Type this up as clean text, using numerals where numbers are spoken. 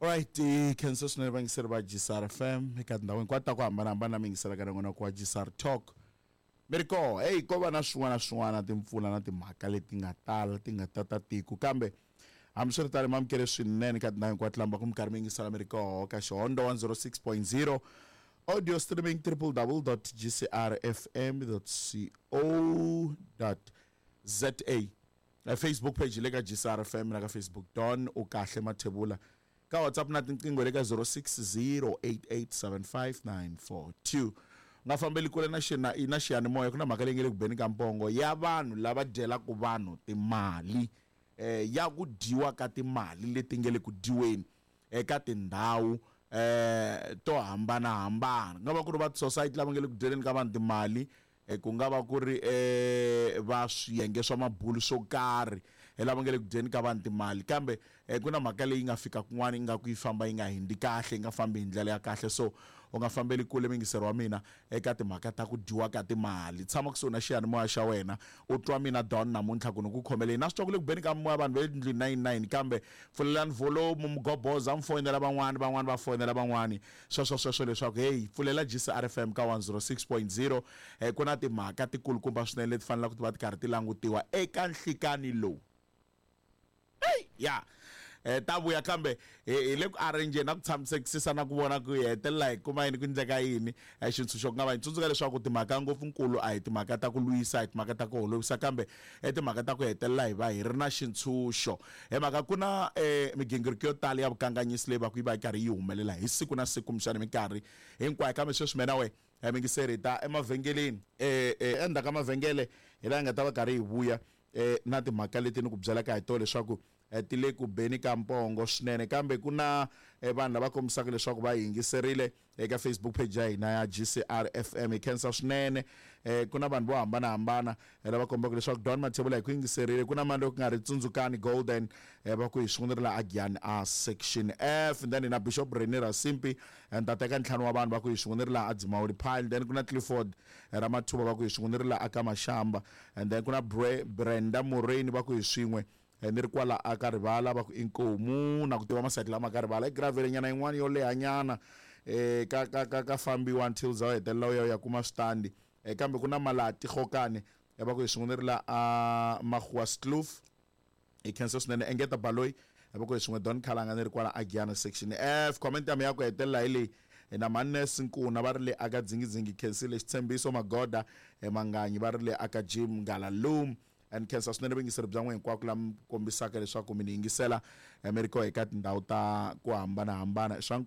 Alright, hi khensa swinene vayingiseri va GCR FM eka tindhawu hinkwato ta ku hambanahambana mi yingiselaka na n'wina kwa GCR Talk. Mi ri koho, hey, ko va na swin'wana na swin'wana timpfula na timhaka leti nga tala ti nga tata tiko kambe hambiswiritano mi amukele swinene ka tindhawu hinkwato lamba ku mi karhi mi yingisela mi ri koho ka Xihondo 106.0 audio streaming www.gcrfm.co.za. Facebook page le ka GCR FM na ka Facebook Don u kahle Mathebula ka WhatsApp na tinqingho le ka 0608875942 nga fambeli kule na xina na xiyanimoya ku na mhaka leyi nge le ku beni ka mpongo ya vanhu lava dyelaka vanhu timali eh, ya ku dyiwa ka timali leti nge le ku dyiweni eka tindhawu eh to hambanahambana ku nga va ku ri va society lava nge le ku dyeleni ka vanhu timali Ku nga va ku ri va swiyenge swa mabulu swo karhi lava nga le ku dyeni ka vanhu timali kambe ku na mhaka leyi nga fika kun'wana ingaku yi famba yi nga hundzi kahle yi nga fambi hi ndlela ya kahle so u nga fambeli kule muyingiseri wa mina eka timhaka ta ku dyiwa ka timali tshama kusuhi na xiyanimoya xa wena u twa mina Don namuntlha ku ni ku khomele yini na swi twa ku le ku beni ka moya vanhu va le tindlwini nine nine kambe pfulelani volume mi goboza mi foyinela van'wani van'wani va foyinela van'wani Sweswo sweswo leswaku heyi, pfulela GCRFM ka 106.0, ku na timhaka tikulukumba swinene leti fanelaka ti va ti karhi ti langutiwa eka nhlikani lowu. Heyi, ya. Ta vuya kambe hi hi le ku arrange na ku tshamisekisisa na ku vona ku hi hetelela hi kuma yini ku endleka yini. Xintshunxo ku nga va yini. Tsundzuka leswaku timhaka ngopfunkulu a hi timhaka ta ku lwisa, a hi timhaka ta ku holovisa kambe I timhaka ta ku hetelela hi va hi ri na xintshunxo. Hi mhaka ku na migingiriko yo tala ya vukanganyisi leyi va ku yi va yi karhi yi humelela hi siku na siku kumbexana hi minkarhi hinkwayo. Kambe sweswi mina we muyingiseri hi ta emavhengeleni. Endzhaku ka mavhengele hi laha hi nga ta va karhi hi vuya na timhaka leti ni ku byelaka hi tona leswaku ti le ku beni ka pongo swinene. Kambe ku na vanhu lava kombisaka leswaku va yingiserile eka Facebook page ya hina ya GCR FM. Hi khensa swinene. Ku na vanhu vo hambanahambana lava kombaka leswaku Don Mathebula hi ku yingiserile. Ku na mani loko ku nga ri Tsundzukani Golden va ku hi swin'wana la Agiyani a Section F. And then hi na Bishop Rene Rasimpi ntate ka ntlhanu wa vanhu va ku hi swin'wana la a Dzimawuli Pile. Then ku na Clifford Ramathuba va ku hi swin'wana la a ka Mashamba. And then ku na Brenda Moreni va ku hi swin'we Ni ri kwala a ka rivala va ku inkomu na ku tiva masayiti lama ka rivala i gravel nyana yin'wana yo leha nyana ka ka ka ka fambiwa until za u hetelela u ya u ya kuma switandi kambe ku na malati gokane va ku hi swin'we ni ri la a Magoaskloof hi khensa swinene engeta baloyi va ku hi swin'we Don Khalanga ni ri kwala a Giyani section F comment ya mina ya ku hetelela hi leyi na Mannes Nkuna va ri le aka Dzingidzingi khensile xitshembiso Magoda Manganyi va ri le aka Jim Ngalalume Ni khensa swinene vuyingiseri bya n'wina hinkwako la mi kombisaka leswaku mi ni yingisela mi ri koho eka tindhawu ta ku hambanahambana. I swa.